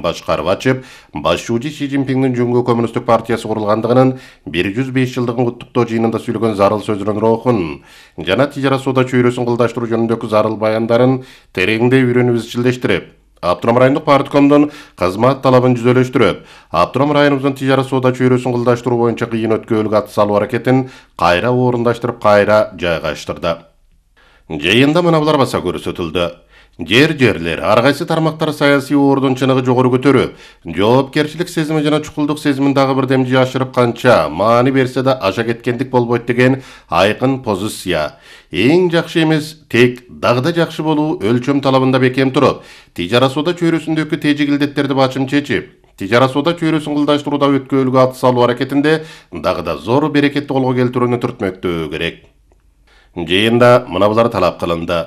башкарып ачып, башчы Си Цзиньпиндин Жуңгу коммунисттик партиясы курулгандыгынын 105 жылдыгын куттуктоо жыйынында сүйлөгөн зарыл сөзүнүн рухун жана тижара соода чөйрөсүн кылдаштыруу жөнүндөгү зарыл баяндарын тереңдей үйрөнүп изчилдештирип, Автоном райондук парткомдун кызмат талабын жүзөлөштүрүп, Автоном районубуздун тижара соода чөйрөсүн кылдаштыруу боюнча кыйын өткөөлүк ат салуу аракетин кайра орундаштырып, кайра жайгаштырды. Жыйында мына баса көрсөтүлдү. Жерлер, ар кайсы тармактар саясий ордун чыныгы жогору көтөрүп, жоопкерчилик сезими жана чукулдук сезимин дагы бир демжи ашырып канча маани берсе да аша кеткендик болбойт деген айкын позиция. Эң жакшы эмес, тек дагы жакшы болуу өлчөм талабында бекем туруп, тижара соода чөйрөсүндөгү тежигилдеттерди бачым чечип, тижара соода чөйрөсүн кылдаштырууда өткөөлүк ат салуу аракетинде дагы да зор берекетти колго келтирүүнү түртмөктөө керек. Жыйында мына булар талап кылынды.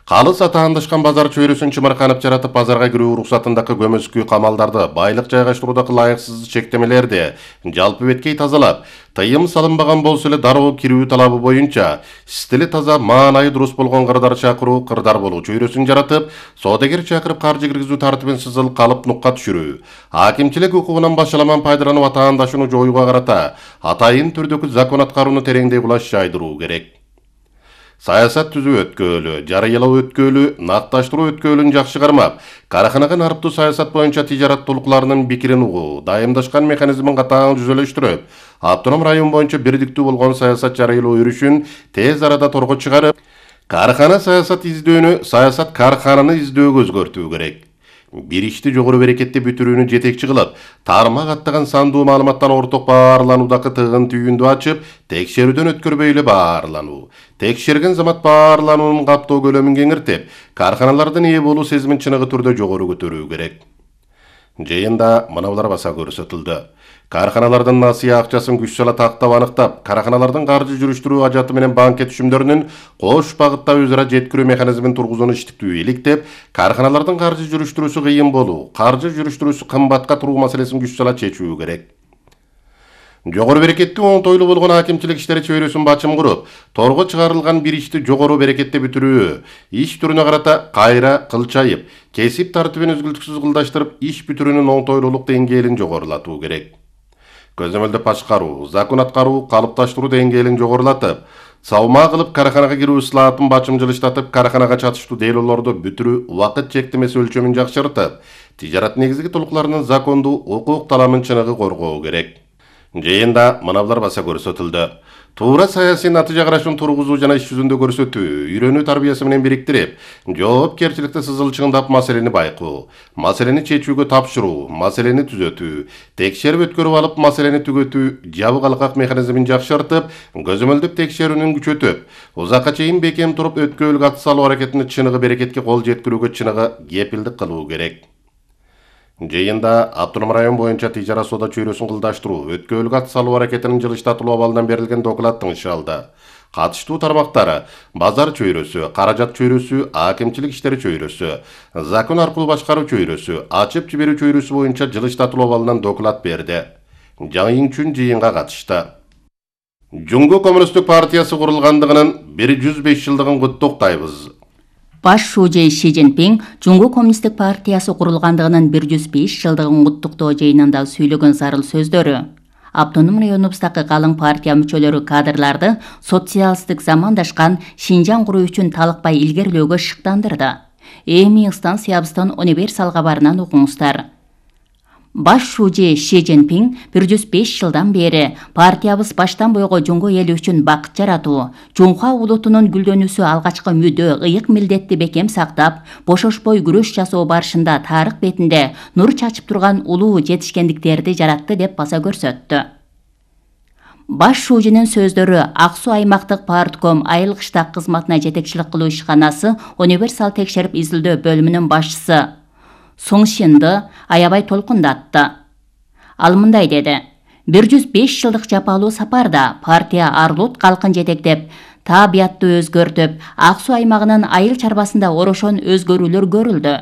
Калыс атаандашкан базар чөйрөсүн чымырканып жаратып, базарга кирүү уруксатындагы көмөскү камалдарды, байлык жайгаштыруудагы ылайыксыз чектемелерди жалпы беткей тазалап, тыйым салынбаган болсо эле дароо кирүү талабы боюнча стили таза, маанайы дурус болгон кырдар чакыруу, кырдар болуу чөйрөсүн жаратып, соодагер чакырып каржы киргизүү тартибин сызыл калып нукка түшүрүү, акимчилик укугунан башаламан пайдаланып атаандашууну жоюуга карата атайын түрдөгү закон аткарууну тереңдей кулаш жайдыруу керек. Саясат түзүү өткөөлү, жарыялоо өткөөлү, накташтыруу өткөөлүн жакшы кармап, караханага нарыктуу саясат боюнча тижарат толукларынын пикирин угуу, дайымдашкан механизмин катаң жүзөлөштүрүп, Автоном район боюнча бирдиктүү болгон саясат жарыялоо өрүшүн тез арада торго чыгарып, карахана саясат издөөнү саясат кархананы издөөгө өзгөртүү керек. Bir ишти жогору берекетти бүтүрүүнү жетекчи кылып, тармак аттаган сандуу маалыматтан орток баарлануудагы тыгын түйүндү ачып, текшерүүдөн өткөрбөй эле баарлануу, текшерген замат баарлануунун каптоо көлөмүн кеңиртип, карханалардын ээ болуу сезимин чыныгы түрдө жогору көтөрүү керек. Жыйында мына булар баса көрсөтүлдү. Карханалардын насыя акчасын күч сала тактап аныктап, карханалардын каржы жүрүштүрүү ажаты менен банкет түшүмдөрүнүн кош багытта өзара жеткирүү механизмин тургузууну иштиктүү иликтеп, карханалардын каржы жүрүштүрүүсү кыйын болуу, каржы жүрүштүрүүсү кымбатка туруу маселесин күч сала чечүү керек. Жогору берекетти оңтойлуу болгон акимчилик иштери чөйрөсүн бачым куруп, торго чыгарылган bir ишти жогору берекетти бүтүрүү, иш түрүнө карата кайра кылчайып, кесип тартибин үзгүлтүксүз кылдаштырып, иш бүтүрүүнүн оңтойлуулук деңгээлин жогорулатуу керек. Көзөмөлдөп башкаруу, закон аткаруу, калыпташтыруу деңгээлин жогорулатып, салма кылып караханага кирүү ыслаатын бачым жылыштатып, караханага чатыштуу делолорду бүтүрүү убакыт чектемеси өлчөмүн жакшыртып, тижарат негизги толукларынын закондуу укук таламын чыныгы коргоо керек. Жыйында мына булар баса көрсөтүлдү. Туура саясий натыйжа карашын тургузуу жана иш жүзүндө көрсөтүү, үйрөнүү тарбиясы менен бириктирип, жоопкерчиликти сызылчыңдап маселени байкоо, маселени чечүүгө тапшыруу, маселени түзөтүү, текшерип өткөрүп алып маселени түгөтүү, жабык алкак механизмин жакшыртып, көзөмөлдөп текшерүүнүн күчөтүп, узакка чейин бекем туруп өткөөлүк ат салуу аракетини чыныгы берекетке кол жеткирүүгө чыныгы кепилдик кылуу керек. Жыйында Автоном район боюнча тижара соода чөйрөсүн кылдаштыруу, өткөөлүк ат салуу аракетинин жылыштатылуу абалынан берилген доклад тыңшалды. Катыштуу тармактары базар чөйрөсү, каражат чөйрөсү, акимчилик иштери чөйрөсү, закон аркылуу башкаруу чөйрөсү, ачып жиберүү чөйрөсү боюнча жылыштатылуу абалынан доклад берди. Жайын үчүн жыйынга катышты. Жуңгу коммунисттик партиясы курулгандыгынын 105 жылдыгын куттуктайбыз. Баш шүүжө Си Цзиньпин Жуңгу коммунисттик партиясы курулгандыгынын 105 жылдыгын куттуктоо жыйынында сүйлөгөн зарыл сөздөрү. Автоном районубуздагы калың партия мүчөлөрү кадрларды социалисттик замандашкан Шинжаң куруу үчүн талыкпай илгерилөөгө шыктандырды. Эми станциябыздан универсал кабарынан угуңуздар. Баш шүүжө Си Цзиньпин 105 жылдан бери партиябыз баштан бойго Жуңгу эли үчүн бакыт жаратуу, Жуңхуа улутунун гүлдөнүүсү алгачкы мүдө, ыйык милдетти бекем сактап, бошошпой күрөш жасоо барышында тарых бетинде нур чачып турган улуу жетишкендиктерди жаратты деп баса көрсөттү. Баш шүүжүнүн сөздөрү Ак Суу аймактык партком айыл кыштак кызматына жетекчилик кылуу ишканасы универсал текшерип изилдөө бөлүмүнүн башчысы Соңшинди аябай толкундатты. Ал мындай деди: 105 жылдык жапалуу сапарда партия Арлут калкын жетектеп, таабиятты өзгөртүп, Ак Суу аймагынын айыл чарбасында орошон өзгөрүүлөр көрүлдү.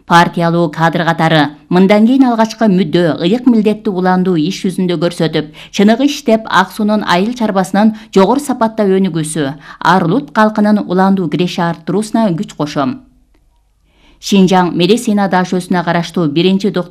Партиялуу кадр катары мындан кийин алгачкы мүдө, ыйык милдетти уландуу иш жүзүндө көрсөтүп, чыныгы иштеп Ак Суунун айыл чарбасынын жогору сапатта өнүгүүсү, Арлут калкынын уландуу киреши арттыруусуна күч кошом. Шинжаң медицина дашөсүнө караштуу 1-доктор